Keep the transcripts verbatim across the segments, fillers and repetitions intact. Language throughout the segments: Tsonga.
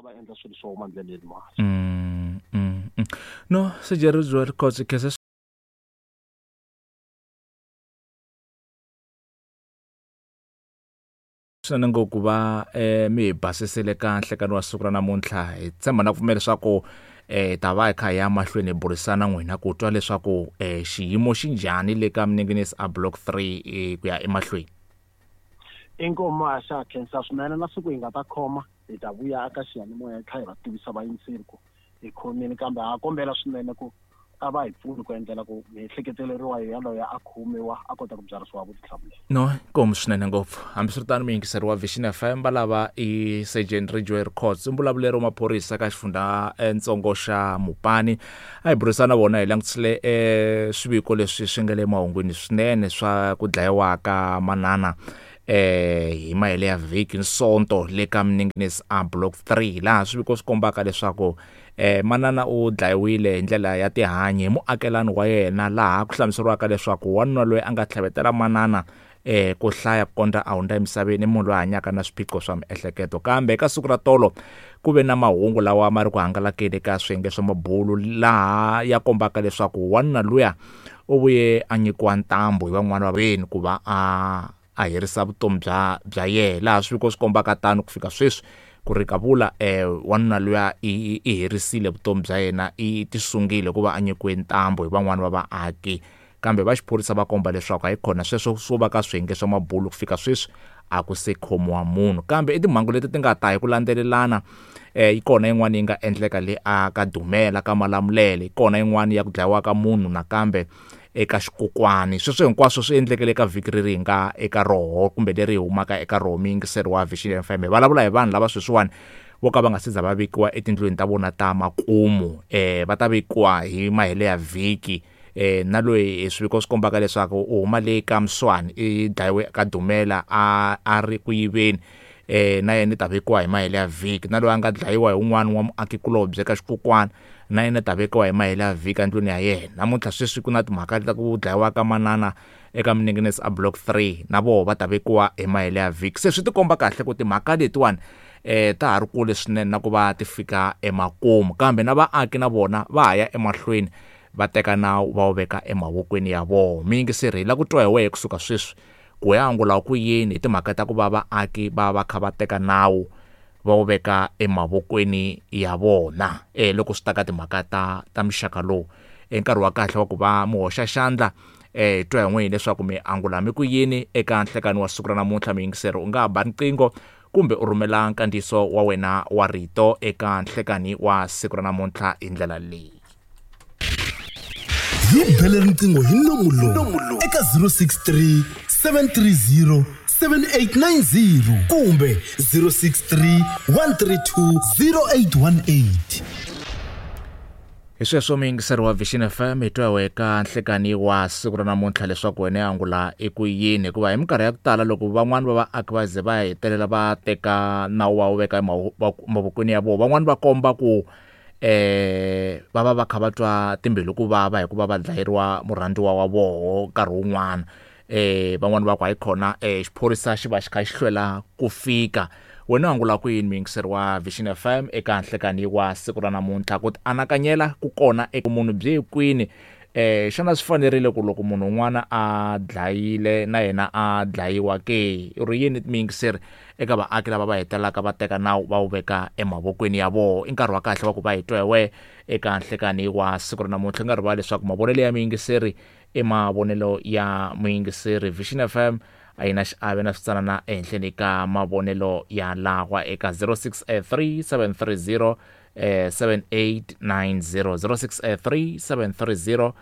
va endla swilo swo huma ndleleni mali. Mm, mm, mm. No Sergeant Ridgeway Rikhotso, khensa swinene ngopfu ku va eh, mi hi basisile ka nhlekani wa siku ra namuntlha. Hi tshemba na ku pfumela leswaku eh ta va hi kha hi ya mahlweni hi burisana n'wina ku twa leswaku eh xiyimo xi njhani le ka Minengenisi a block three eh, ku ya emahlweni. Inkomu a xa khensa swinene na siku hi nga ta khoma hi ta vuya eka xiyanimoya hi tlhela hi va tivisa vayingiseri ku hi khomile, kambe ha kombela swinene ku a va hi pfuni ku endlela ku miehleketeleriwa yaloye a khomiwa a kota ku byarisiwa vutihlamuleri. No, inkomu swinene ngopfu. Hambiswiritano muyingiseri wa Vision F M va lava i Sergeant Ridgeway Rikhotso, mbulavuleri wa maphorisa ka xifundza ntsongo xa Mopani. A hi burisana na vona hi langutisile eh swiviko leswi swi nga le mahungwini swinene swa ku dlayiwa ka manana eh hi mahele ya vhiki Nsonto le ka Minengenisi a block three, laha swiviko swi kombaka leswaku eh manana u dlayiwile hi ndlela ya tihanyi hi muakelani wa yena, laha ku hlamuseriwaka leswaku wanuna loyi a nga tlhavetela manana eh ku hlaya ku kondza a hundza emisaveni, munhu loyi a hanyaka na swiphiqo swa miehleketo. Kambe eka siku ra tolo ku ve na mahungu lawa ma ri ku hangalakeni ka swiyenge swa mabulu, laha ya kombaka leswaku wanuna luya u vuye a nyikiwa ntambu hi van'wana va veni ku va a a herisa vutomi bya bya yena, laha swiviko swi kombaka tano ku fika sweswi ku ri kavula eh wanuna luya i, i herisile vutomi bya yena, i tisungile hikuva a nyikiwe ntambu hi van'wana va vaaki. Kambe va xiphorisa va komba leswaku hayikhona sweswo swo va ka swiyenge swa mabulu ku fika sweswi a ku se khomiwa munhu. Kambe i timhangu leti ti nga ta hi ku landzelelana, eh yi kona yin'wana yi nga endleka le a ka Dumela ka Malamulele, yi kona yin'wana ya ku dlayiwa ka munhu nakambe eka Xikokwani. Sweswo hinkwaswo swi endlekele eka vhiki leri hi nga eka roho kumbe leri hi humaka eka roho. Muyingiseri wa Vision F M, hi vulavula hi vanhu lava sweswiwani vo ka va nga se za va vekiwa etindlwini ta vona ta makumu, eh va ta vekiwa hi mahele ya vhiki. Eh na loyi swiviko swi kombaka leswaku u huma le ka Mswani, i dlayiwe ka Dumela a a ri ku yiveni, eh na yena i ta vekiwa hi mahele ya vhiki. Na loyi a nga dlayiwa hi un'wana wa muakikulobye ka Xikokwani, na yena ta vekiwa hi mahele ya vhiki endlwini ya yena. Namuntlha sweswi ku na timhaka ta ku dlayiwa ka manana eka Minengenisi a block three, na voho va ta vekiwa hi mahele ya vhiki. Se swi tikomba kahle ku timhaka letiwani eh ta ha ri kule swinene na ku va ti fika emakumu, kambe na vaaki na vona va ha ya emahlweni va teka nawu va wu veka emavokweni ya vona. Muyingiseri, hi lava ku twa hi wehe kusuka sweswi ku ya angula ku yini hi timhaka ta ku va vaaki va va kha va teka nawu va wu veka emavokweni ya vona eh loko swi ta ka timhaka ta ta muxaka lowu. I nkarhi wa kahle wa ku va mi hoxa xandla, eh twa hi n'wini leswaku mi angula mi ku yini eka nhlekani wa siku ra namuntlha. Muyingiseri, u nga ba riqingho kumbe u rhumela nkandziyiso wa wena wa rito eka nhlekani wa siku ra namuntlha hi ndlela leyi. Hi bele riqingho hi nomu lowu eka zero six three seven three zero seven eight nine zero kumbe zero six three one three two zero eight one eight. Hi sweswo muyingiseri wa Vision F M, hi twa eka nhlekani wa siku ra namuntlha leswaku wena ya angula i ku yini, hikuva hi minkarhi ya ku tala loko van'wani va vaaki va ze va hetelela va teka nawu wa wu veka emavokweni ya vona, van'wani va komba ku eh va va va kha va twa timbilu ku vava hikuva va dlayeriwa murhandziwa wa voho nkarhi wun'wana. Eh van'wani va ku hayikhona eh xiphorisa xi va xi kha xi hlwela ku fika. Wena u angula ku yini muyingiseri wa Vision F M eka nhlekani wa siku ra namuntlha? Ku tianakanyela ku kona eka munhu byi kwini? Eh xana swi fanerile ku loko munhu un'wana a dlayile na yena a dlayiwa ke? U ri yini muyingiseri eka vaaki lava va hetelelaka va teka nawu va wu veka emavokweni ya vona? I nkarhi wa kahle wa ku va hi twa hi wehe eka nhlekani wa siku ra namuntlha. U nga rivali leswaku mavonelo ya muyingiseri i mavonelo ya muyingiseri. Vision F M a yi na xiave na switsanana ehenhleni ka mavonelo ya lawa eka zero six three seven three zero seven eight nine zero, zero six three seven three zero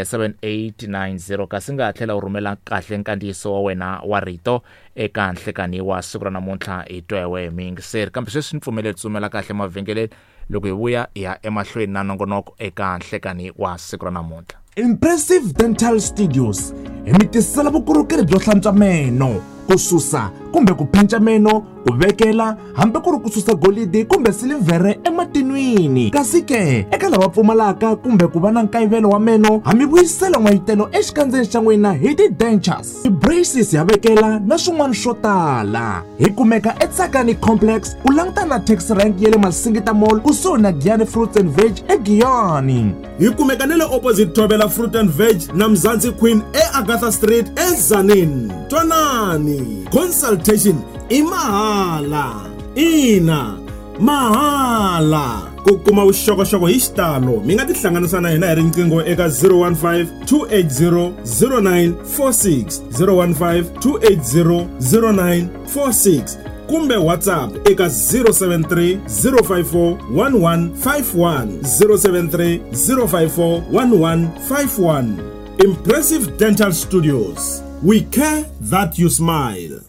seven eight nine zero. Kasi nga tlhela u rhumela kahle nkandziyiso wa wena wa rito eka nhlekani wa siku ra namuntlha hi twa hi wehe muyingiseri. Kambe sweswi ni pfumeleli tsumela kahle mavhengeleni loko hi vuya hi ya emahlweni na nongonoko eka nhlekani wa siku ra namuntlha. Impressive Dental Studios hi mi tisela vukorhokeri byo hlantswa meno, ku susa kumbe ku penca meno, ku vekela hambi ku ri ku susa golidi kumbe silivhere ematinwini. Kasi ke eka lava pfumalaka kumbe ku va na nkayivelo wa meno, ha mi vuyisela n'wayitelo exikandzeni xa n'wina hi ti-dentures, ti-braces ya vekela na swin'wana swo tala. Hi kumeka eTsakani Complex, u langutana na taxi rank ya le Masingita Mall kusuhi na Giyani Fruits and Veg eGiyani. Hi kumeka na le opposite Thobela Fruit and Veg na Mzansi Queen eAgatha Street eTzaneen. Twanani, consultation i mahala. Ina, mahala. Ku kuma vuxokoxoko hi xitalo mi nga tihlanganisa na hina hi riqingho eka zero one five two eight zero zero nine four six, zero one five two eight zero zero nine four six kumbe WhatsApp eka zero seven three zero five four one one five one, zero seven three zero five four one one five one. Impressive Dental Studios. We care that you smile.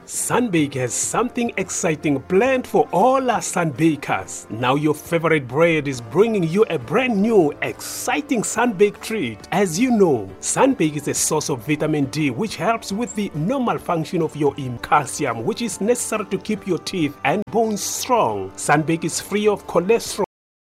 Sunbake has something exciting planned for all our Sunbakers. Now your favorite bread is bringing you a brand new, exciting Sunbake treat. As you know, Sunbake is a source of vitamin D, which helps with the normal function of your immune calcium, which is necessary to keep your teeth and bones strong. Sunbake is free of cholesterol